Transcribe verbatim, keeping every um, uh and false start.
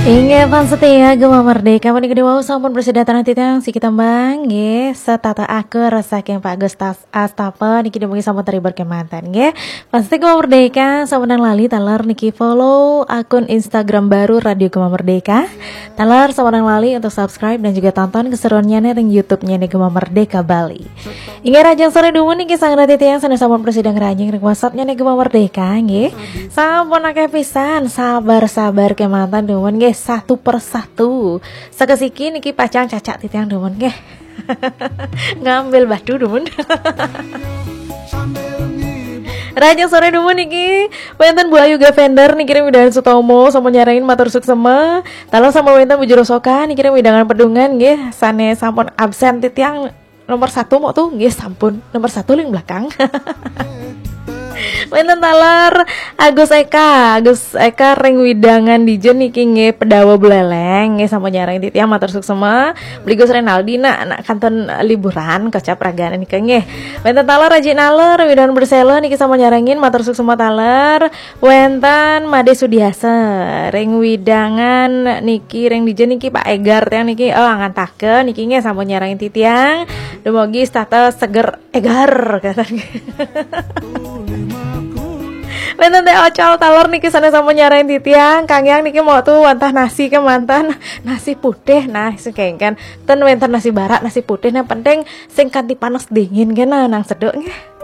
Inggih, fans setia Gema Merdeka, puniki wau sampun prasida titiang siki tembang nggih, Setata Akur saking Pak Gustas Astapa niki dumugi sampun terhibur kemanten nggih. Fans setia Gema Merdeka, sampunang lali taler niki follow akun Instagram baru Radio Gema Merdeka. Taler sampunang lali untuk subscribe dan juga tonton keseruannya ring YouTube-nya nih Gema Merdeka Bali. Inggih, rahajeng sore dumun niki sareng titiang sané sampun prasida ngranjing ring WhatsApp-nya nih Gema Merdeka nggih. Sampun akeh pisan, sabar-sabar kemanten dumun nggih, satu per satu. Sakasiki niki pacang cacak titiang dumun nggih. Ngambil batu dumun. Rahajeng sore dumun niki wénten Bu Ayu Gavender niki ring wewidangan Sutomo sampun nyarengin matur suksema. Taler sampun wénten Bu Jero Soka niki ring wewidangan Pedungan nggih, sané sampun absen titiang nomor satu mok tuh nggih, sampun nomor satu ring belakang. Wénten taler Agus Eka, Agus Eka ring wewidangan dija niki nggih, Pendawa Buleleng nggih, sampun nyarengin titiang matur suksema. Beli Gus Renaldi nak, nak kantun liburan kocap ragane nika nggih. Wénten taler Aji Naler wewidangan Persela niki sampun nyarengin matur suksema taler. Wénten Made Sudiasa ring wewidangan niki, ring dija niki Pak Egar tiang niki, oh, angantaken niki nggih, sampun nyarengin titiang. Dumugi setata seger egar kata. Wénten Teh Ocol taler niki sané sampun nyarengin titiang, Kang Yang niki mok tuh wantah nasi kemanten, nasi putih nah sing kengken. Ten wénten nasi barak, nasi putih nah penting sing kanti panas dingin kena nang seduk nggih.